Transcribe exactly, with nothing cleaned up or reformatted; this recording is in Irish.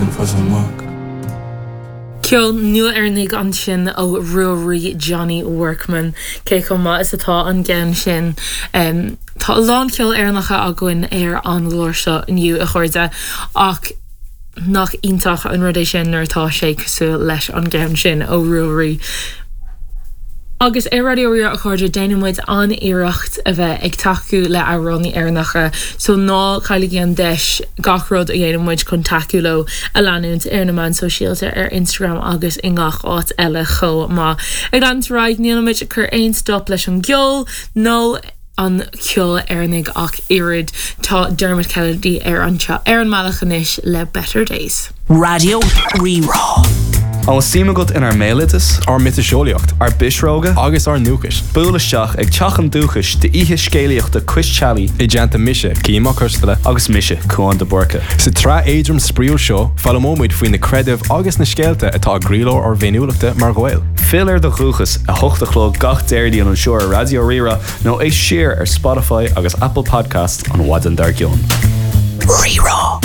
An fas amach. Ceol nua Éireannach ansin ó Ruairí Johnny Workman cé chomh maith is atá an ceann sin. Um, tá a lán ceol Éireannach againn ar an gclár seo inniu a chairde ach nach iontach an rud é sin nuair atá sé cosúil leis an gceann sin ó Ruairí. Agus ar Raidió Rí-Rá a chairde déanaimid an-iarracht a bheith ag tacú le hamhránaithe Éireannacha, so ná cailligí an deis gach rud a dhéanaimid chun tacú leo a leanúint ar na meáin sóisialta ar Instagram agus i ngach áit eile chomh maith. Ag leanúint ar aghaidh nílimid ag cur aon stop leis an gceol nó an ceol Éireannach ach oiread tá Dermot Kennedy ar an ar an mbealach anois le Better Days. Raidió Rí-Rá. An bhfuil suim agat inár mbéaloideas, Ár miotaseolaíocht ár bpisreoga, agus ár ndúchas. Buail isteach ag Teach an Dúchais d'oíche scéalaíochta Cois Teallaigh I dteannta mise Cian Mac Coisteala agus mise Cuan de Búrca. Sa tsraith éadrom spraíúil seo foghlaimeoimid faoi na creidimh agus na scéalta atá i gcroílár ár bhféiniúlachta mar Ghaeil. Fill ar do dhúchas a hocht a chlog gach Déardaoin anseo ar Raidió Rí-Rá nó éist siar ar Spotify agus Apple Podcast an mhaidin dár gcionn. Rí-Rá.